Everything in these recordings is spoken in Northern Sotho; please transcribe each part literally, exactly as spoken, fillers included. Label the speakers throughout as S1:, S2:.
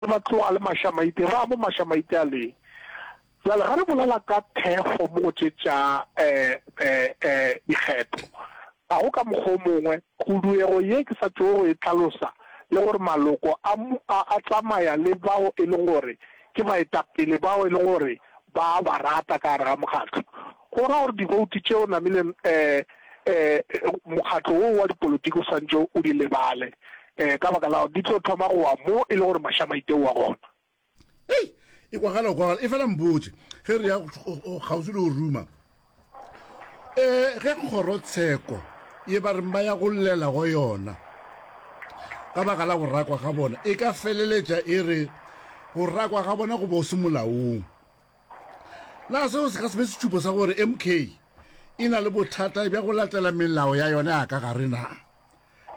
S1: Ba tloga le mašamaite, ba mo mašamaite a leng. Bjale ga re bolela ka thekgo mo go tše tša dikgetho, ga go ka mokgwa o mongwe, khuduego ye ke sa tšogo go e hlalosa le gore maloko a a tsamaya le bao e leng gore ke baetapele bao e leng gore ba a ba rata ka gare ga mokgatlo. Go ra gore diboutu tšeo namile mokgatlo wo wa dipolotiki o swantše o di lebale ka baka la gore di tlo thoma go wa mo e le gore mašamaite o wa gona.
S2: Hei, e kwagala go kwagala. Efela mpotše, ge re ya kgauswi le go ruma, um ge kgorotsheko ye ba reng ba ya go llela go yona ka baka la go rakwa ga bona e ka feleletša e re go rakwa ga bona go bo se molaong, na seo se ka se be sešupo sa gore M K e na le bothata bja go latela melao ya yona ya ka gare na?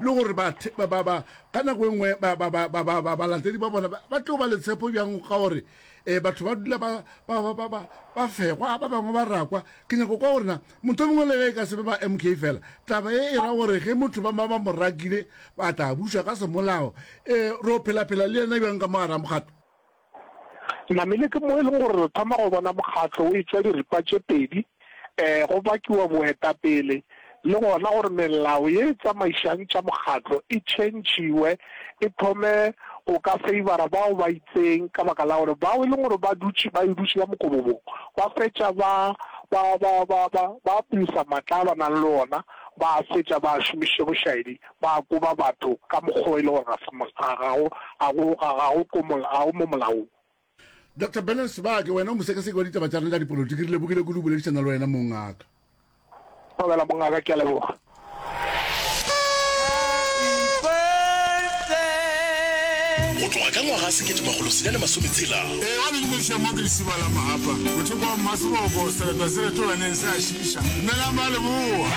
S2: Le gore ba, ba, ba, ba, ka nako e nngwe ba, ba, ba, ba, ba, ba, balatedi ba bona ba, ba tlo ba le tshepo bjang ka gore um batho ba dula ba, ba, ba, ba, ba, ba fegwa, ba bangwe ba rakwa. Ke nyako kwa gore na motho mongwe le ge e ka se be ba M K fela, taba ye e ra gore ge motho ba, ba, ba mo rakile ba tla bušwa ka semolao, um ro phela-phela le yena bjang ka mo gare ga mokgatlo?
S1: Namile ke mo e leng gore re thoma go bona mokgatlo o etšwa diripa tše pedi, go bakiwa boetapele le gona gore melao ye e tsamaišang tša mokgatlo e tšhentšhiwe, e thome go ka feibara bao ba itseng ka baka la gore bao e leng gore ba dutše ba e dutše ka mokobobong ba fetša ba ba ba ba ba ba abusa matla a ba nang le ona, ba a fetša ba a šomišitše bošaedi, ba koba batho ka mokgwa o e le gore ga se ga ga go ga go ga ga go ko ga go mo molaong.
S2: Doctor Bernard Sebake, wena o mosekaseki wa ditaba tša rena tša dipolotiki, re lebogile kudu go boledišana le wena mongaka.
S1: Thobela mongaka, ke a leboga.
S3: Go tloga ka ngwaga sekete makgolo senyane masome tshela.
S4: Ee, wa le dumediša mo ke Lesiba la Mahapa, mothoko wa Mmaseboko, sereto se retolaneng se a šiiša. Dumelang ba Leboa.